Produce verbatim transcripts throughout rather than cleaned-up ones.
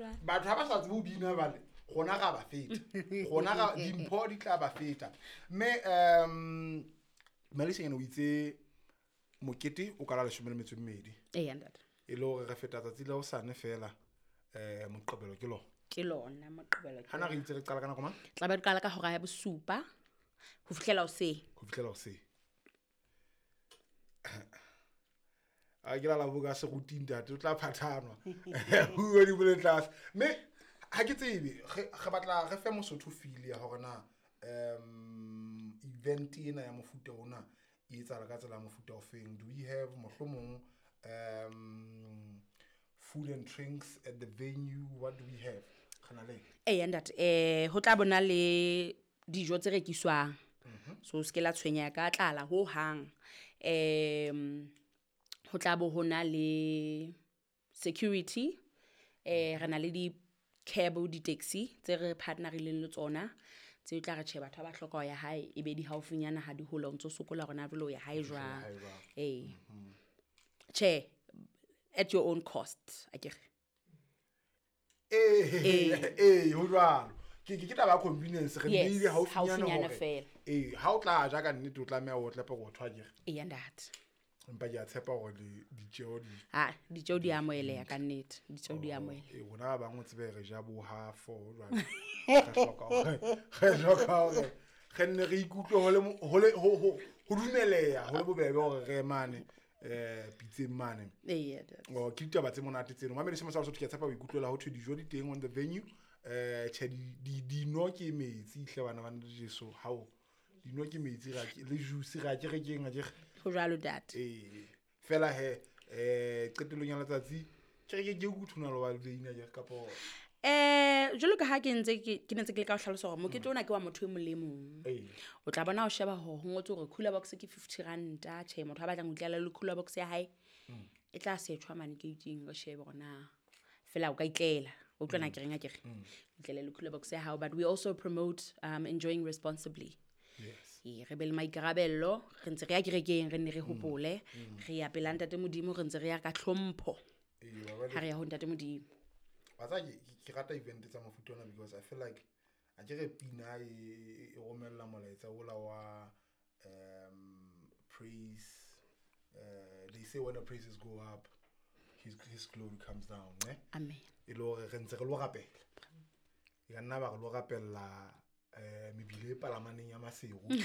jwalo. Batho ha ba sa tsebe ho bina bale rona ra ba feta. Rona ra dimpho di tla ba feta. Mme um Malisanyane o itse mokete o kala leshome le metso e mmedi. Eya ntate. E le hore re feta tsatsi la hosane fela eh Moqebelo ke lona. Ke lona Moqebelo ke. Hana re itse re qala ka nako mang? Tla be re qala ka hora ya bosupa ho fihlela hoseng. Ho fihlela hoseng. A ke la la boka seruting ntate o tla phathanwa. Ho di bole tlase. Mme ha ke tsebe re batla re fe Mosotho feel ya hore na um event ena ya mofuta ona e etsahala ka tsela ya mofuta o feng. Do we have mohlomong um food and drinks at the venue? What do we have? Khana le eh ntate eh ho tla bona le dijo tse rekiswang. So se ke la tshwenya ka tlala ho hang. Em ho tla bo hona le security, eh re na le di cab di taxi tse re partnerileng le tsona tse tla re tjhe batho ba hloka ho ya hae e be di haufinyana ha di hola o ntso sokola rona jwalo ya hae jwang. Eh che at your own cost akere. Eh eh ho jwalo ke ke taba ya convenience re beile haufinyana hore eh ha o tla ja ka nnete o tlameha o tlepe go thwa akere. Eh ntate empa ke a tshepa hore di ditjeo di ha ditjeo di amoheleha ka nnete ditjeo di amoheleha. Eh rona ba bangwe tsebe re ja bo half jwale re hloka hore re hloka hore re nne re ikutlwe ho le ho le ho ho dumeleha ho le bobebe hore re mane eh pitseng mane. Eh oh ke ditaba tse monate tseno mamedi semo sa Lesotho ke a tshepa o ikutlwela ho thwe dijo di teng on the venue. Eh tjhe di dino ke metsi hle bana ba Jesu hao dino ke metsi ra ke le juice ra ke re keng a ke ho jwalo ntate. Eh fela he eh qetellong ya letsatsi ke re ke ke kuthuna lo ba le ina ke kapo eh jwalo ka ha ke ntse ke ke ntse ke le ka ho hlalosa hore mokete ona ke wa motho e mong le mong. O tla bona o sheba hore ho ngotswe hore cooler box ke fifty ranta. Tjhe motho a batlang ho itlela le cooler box ya hae e tla setjhwa mane ke itseng re shebe hore na fela o ka itlela o utlwana ke reng a ke re itlele le cooler box ya hao. But we also promote um enjoying responsibly. Yes. E re be le maikarabello re ntse re ya kerekeng re nne re hopole re ya pela ntate Modimo re ntse re ya ka tlhompho. Ha re ya ho ntate Modimo. Wa tsa ke rata event tsa mofuta ona because I feel like a ke re pina e romella molaetsa ola wa um praise uh they say when the praises go up his his glory comes down ne. Amen. E le hore re ntse re lo rapela. E ka nna ba re lo rapella eh mebile e palamaneng ya Maseru le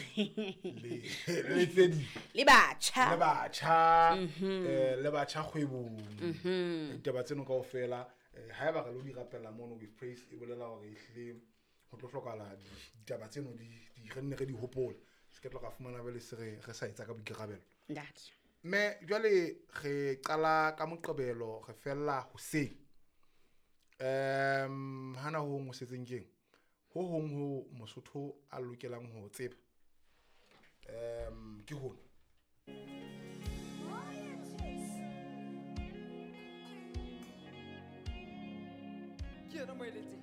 le tse di le batjha le batjha eh le batjha kgwebong ditaba tseno kaofela ha eba re lo di rapella mono with praise e bolela hore ehle ho tlo hlokahala ditaba tseno di di re nne re di hopole se ke tlo ka fumana bele se re re sa etsa ka boikarabelo ntate. Mme jwale re qala ka Moqebelo re fella hoseng um hana ho hong o setseng keng ho hong ho Mosotho a lokelang ho tseba um ke hona. Ke yena moeletsi.